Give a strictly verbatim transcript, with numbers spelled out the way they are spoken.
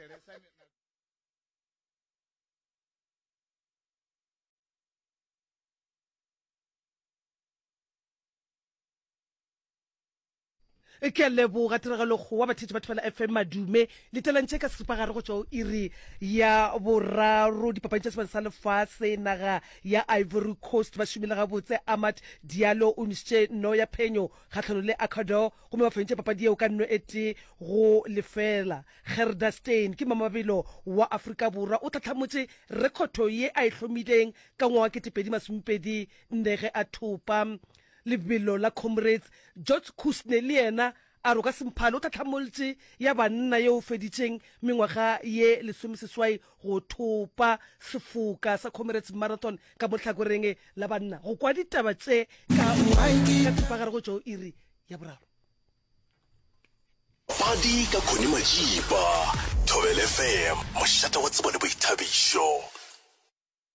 thetshelesa Ke a leboga tiragalo kgowa batheetši ba Thobela F M madume letelantše ka seripagare go tšwa go iri ya boraro. Dipapadi tša sebata sa lefase naga ya Ivory Coast ba šomile gabotse. Amad Diallo o nwešitše nno ya phenyo kgahlanong le Ecuador gomme ba fentše papadi yeo ka nno e tee go lefela. Gerda Steyn ke mamabelo wa Afrika Borwa o tlhatlhamotše rekhoto ye a e hlomileng ka ngwaga wa ketepedi masomepedi nne ge a thopa lebelo la Comrades. George Kusne le yena a roka semphale o tlhatlhamoltše ya banna yeo feditšeng mengwaga ye lesomeseswai go thopa sefoka sa Comrades Marathon ka mo hlakoreng la banna. Go kwa ditaba tše ka ka tsepagare go tšwa go iri ya boraro. Padi ka Connie Majiba, Thobela F M, mošate wa tsebo le boithabišo.